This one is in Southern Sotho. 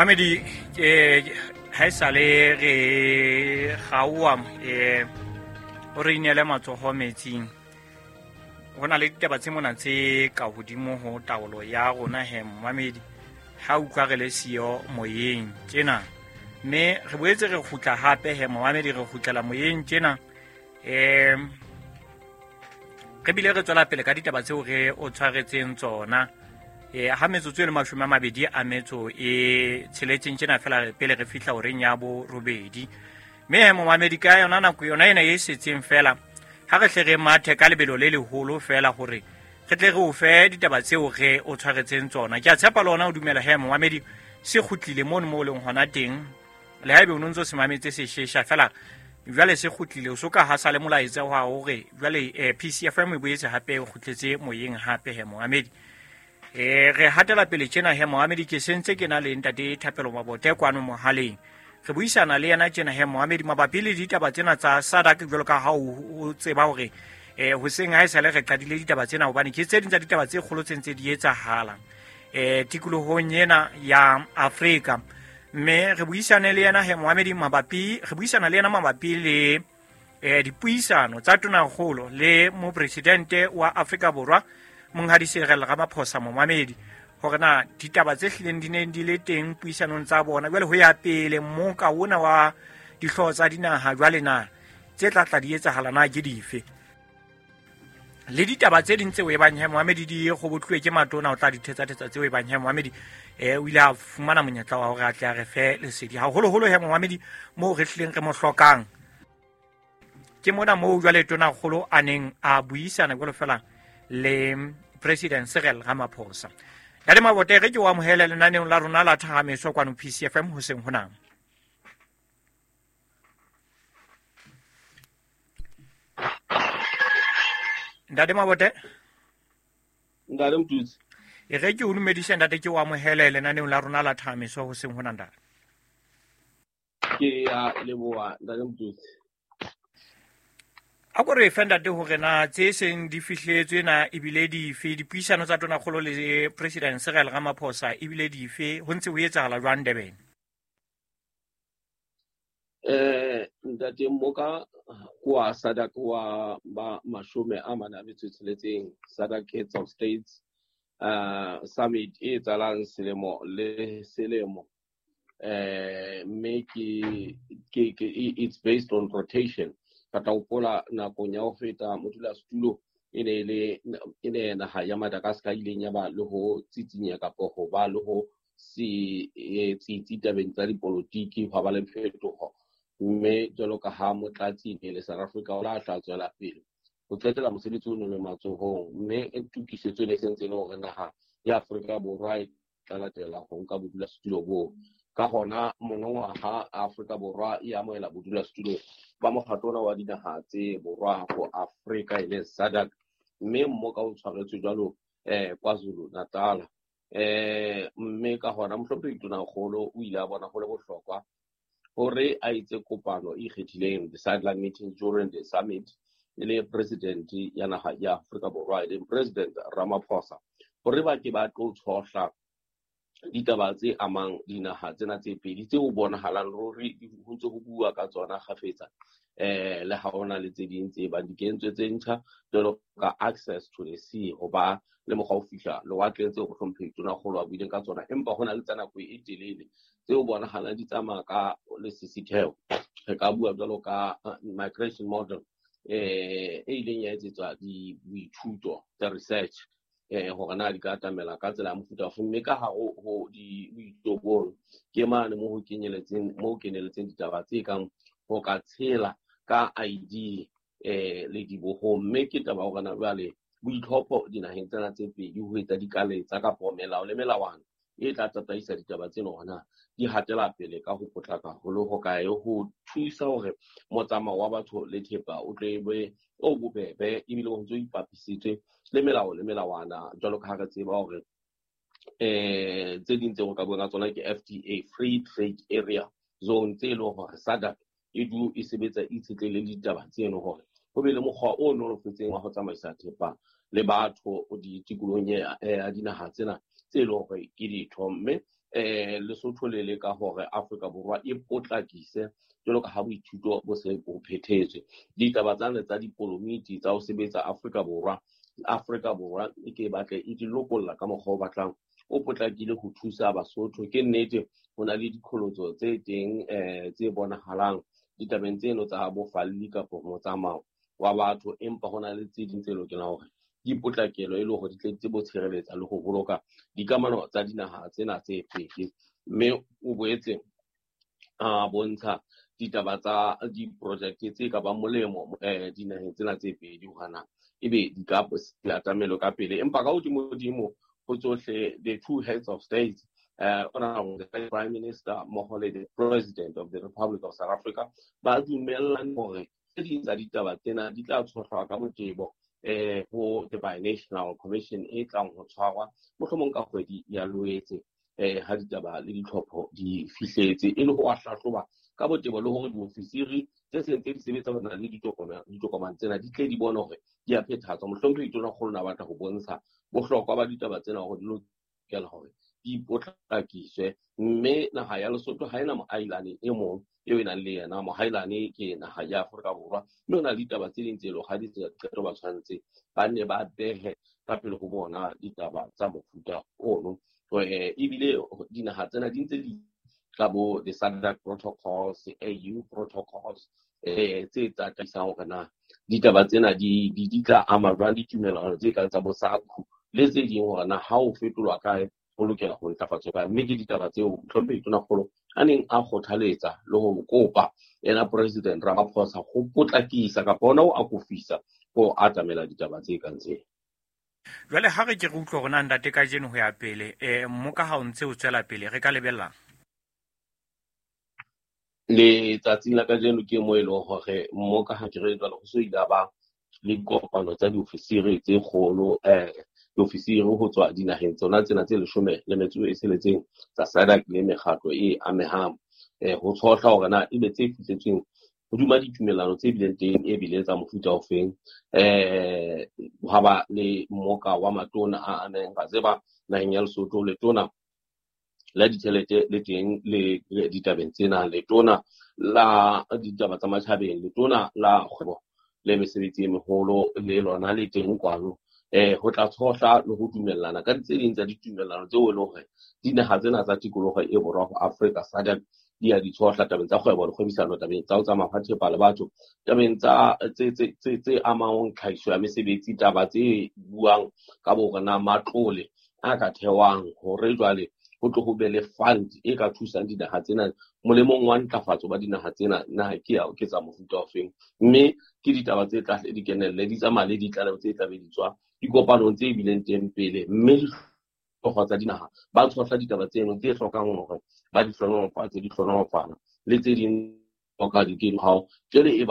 Mamedi, ha e sale re gaoa, o re inele matsogo metsing. Go na le ditaba tse mona tse ka hodimo ho taolo ya rona he mamedi, ha utlwa re le siyo moyeng tjena. Mme re boetse re kgutla hape he mamedi, re kgutlela moyeng tjena. Re bile re tswela pele ka ditaba tseo re o tshwaretseng tsona. Ha metsotso e le 26 tjena fela pele re fihla horeng ya 8. Mme he momamedi, ka yona nako yona ena e setseng fela, ha re hle re mathe ka lebelo le leholo fela hore re tle re o fe ditaba tseo re o tshwaretseng tsona. Ke a tshepa le ona o dumela he momamedi, se kgutlile mono mo o leng hona teng. Le haebe o no ntso se mametse se shesha fela, jwale se kgutlile, o so ka ha sa le molaetsa wa hore jwale PCFM e boetse hape e kgutletse moyeng hape he momamedi. Re hatela pele tjena he momamedi, ke sentse ke na le ntate Thapelo Mabote kwano mohaleng. Re buisana le yena tjena he momamedi mabapi le ditaba tsena tsa SADC, jwalo ka ha o tseba hore hoseng ha e sale re qadile ditaba tsena, hobane ke tse ding tsa ditaba tse kgolo tse ntse di etsahala tikolohong ena ya Afrika. Mme re buisane le yena he momamedi mabapi, re buisana le yena mabapi le dipuisano tsa Tonakgolo le mopresidente wa Afrika Borwa Monghadi Cyril Ramaphosa momamedi, hore na ditaba tse hlileng di neng di le teng puisanong tsa bona jwale ho ya pele mmoka ona wa dihlooho tsa dinaha jwale na tse tla tla di etsahala na ke dife, le ditaba tse ding tseo e bang he momamedi di kgobotluwe ke matona, o tla di thetsa-thetsa tseo e bang he momamedi o ile a fumana monyetla wa hore a tle a re fe lesedi haholoholo he momamedi moo re hlileng re mo hlokang. Ke mona moo jwale Tonakgolo a neng a buisana jwalo fela le President Cyril Ramaphosa. Ntate Mabote, re ke o amohele lenaneong la rona la Thahamiso kwano PCFM hoseng hona. Ntate Mabote. Ntate Mtutsi. E re ke o dumedise ntate, ke o amohele lenaneong la rona la Thahamiso hoseng hona ntate. Ke a leboha ntate Mtutsi. A ko re fe ntate hore na tse seng di fihletswe na ebile dife, dipuisano tsa Tonakgolo le President Cyril Ramaphosa ebile dife, ho ntse ho etsahala jwang Durban? Ntate Mmoka kwa SADC wa ba 46, SADC Heads of States Summit e etsahalang selemo le selemo. Mme ke it's based on rotation. Ka tla hopola nakong ya ho feta modulasetulo e ne le e ne naha ya Madagascar ileng ya ba le ho tsitsinya kapa ho ba le ho se tsitsi tabeng tsa dipolotiki, hwa ba le phetoho. Mme jwalo ka ha motlatsi ne le South Africa o la tla tswela pele ho qetela mosebetsi o le matsohong, mme tokisetso e ne sentse e le hore naha ya Afrika Borwa e tla latela ho nka bodulasetulo boo. Ka hona monongwaha Afrika Borwa e amohela bodulasetulo ba mokgatlo ona wa dinaha tse borwa ho Afrika e leng SADC, mme mmoka o tshwaretswe jwalo KwaZulu Natal. Mme ka hona mohlomphehi Tonakgolo o ile a bona ho le bohlokwa hore a etse kopano e ikgethileng, the sideline meeting during the summit, e le president ya naha ya Afrika Borwa e leng President Ramaphosa, hore ba ke ba tlo tshohla ditaba tse amang dinaha tsena tse pedi tseo bonahalang ruri ho ntse ho bua ka tsona kgafetsa. Le ha hona le tse ding tse bang di kentswe tse ntjha jwalo ka access to the sea, ho ba le mokgwa ho fihla lewatleng tseo mohlomphehi Tonakgolo a buileng ka tsona, empa hona le tsa nako e telele tseo bonahalang di tsamaya ka lesisitheho. Re ka bua jwalo ka migration model e ileng ya etsetswa boithuto tsa research hore na di ka atamela ka tsela ya mofuta ofe, mme ka hare ho boithuto bono ke mane mo ho keneletseng ditaba tse kang ho ka tshela ka ID le dibohong. Mme ke taba hore na jwale boitlhopho dinaheng tsena tse pedi ho etsa dikaletsa kapa melao le melawana e tla tataisa ditaba tsena hore na di hatela pele ka ho potlaka haholo ho kae, ho thusa hore motsamao wa batho le thepa o tle be o bobebe ebile o ntso ipapisitswe le melao le melawana, jwalo ka ha re tseba hore tse ding tseo ka buang ka tsona ke FTA, Free Trade Area Zone, tse leng hore SADC e du e sebetsa e itshetlehile le ditaba tseno hore ho be le mokgwa o nolofetseng wa ho tsamaisa thepa le batho ditikolohong ya dinaha tsena tse leng hore ke ditho. Mme Lesotho le leka hore Afrika Borwa e potlakise jwalo ka ha boithuto bo se bo phethetswe. Ditaba tsane tsa dipolomiti tsa ho sebetsa Afrika Borwa, Afrika Borwa e ke batle e di lokolla ka mokgwa o batlang o potlakile ho thusa Basotho. Ke nnete ho na le diqholotso tse teng tse bonahalang ditabeng tseno tsa bofalli kapa motsamao wa batho, empa ho na le tse ding tse lokelang hore di potlakelo e le hore di tle di tsebe ho tshireletsa le ho boloka dikamano tsa dinaha tsena tse pedi. Mme o boetse a bontsha ditaba tsa diprojekte tse ka bang molemo dinaheng tsena tse pedi hore na ebe di ka atamelo ka pele. Empa ka hodimo-dimo ho tsohle, the two heads of states, the Prime Minister mmoho le the President of the Republic of South Africa, ba dumellane hore tse ding tsa ditaba tsena di tla tshohlwa ka botebo ho the Binational Commission e tlang ho tshwarwa mohlomong ka kgwedi ya Loetse, ha ditaba le ditlhopho di fihletse, e le ho a hlahloba ka botebo le hore diofisiri tse seng tse di sebetsa le ditokomane tsena di tle di bone hore di a phethahatswa. Mohlomphehi Tonakgolo na batla ho bontsha bohlokwa ba ditaba tsena hore di lokela hore di potlakiswe, mme naha ya Lesotho ha ena moailane e mong eo e nang le yena. Mohailane ke naha ya Afrika Borwa, mme ho na le ditaba tse ding tse leng ha di qeto ba tshwanetse ba nne ba behe ka pele ho bona ditaba tsa mofuta ono. Ebile dinaha tsena di ntse di ka bo the SADC protocols, AU protocols, tse tataisang hore na ditaba tsena di tla ama jwang ditumellano tse kang tsa bo SACU le tse ding, hore na ha o fetolwa kae ho lokela ho ntlafatswa kae. Mme ke ditaba tseo Mohlomphehi Tonakgolo a neng a kgothaletsa le ho kopa yena President Ramaphosa ho potlakisa kapa hona ho akofisa ho atamela ditaba tse kang tsena. Jwale ha re ke re utlwe hore na ntate kajeno ho ya pele, mmoka ha o ntse o tswela pele re ka lebellang? Letsatsing la kajeno ke mo e leng hore mmoka ha ke re jwale ho so ile a ba le dikopano tsa diofisiri tse kgolo, diofisiri ho tswa dinaheng tsona tsena tse 16 tsa SADC le mekgatlo e amehang, ho tshohla hore na ebe tse fihletsweng hodima ditumellano tse bileng teng e bile tsa mofuta ofeng. Ha ba le mmoka wa matona a amehang, ra tseba naheng ya Lesotho letona la ditjhelete le teng le ditabeng tsena, letona la ditaba tsa matjhabeng, letona la kgwebo le mesebetsi e meholo le lona le teng kwano, ho tla tshohla le ho dumellana ka tse ding tsa ditumellano tseo e leng hore dinaha tsena tsa tikoloho e borwa ho Afrika SADC di a di tshohla tabeng tsa kgwebo le kgwebisano, tabeng tsa ho tsamaya ha thepa le batho, tabeng tsa tse amang tlhahiso ya mesebetsi, taba tse buang ka bo hore na matlole a ka thewang hore jwale ho tlo ho be le fund e ka thusang dinaha tsena molemong wa ntlafatso ba dinaha tsena, na ke ya ke tsa mofuta ofeng. Mme ke ditaba tse tla hle di kenelle, di tsamaya le ditlaleho tse tla be di tswa dikopanong tse bileng teng pele, mme dihlooho tsa dinaha ba tshohla ditaba tseno tse hlokang hore ba di hlohonolofatse, di hlohonolofala le tse ding hloka di ke hao jwale e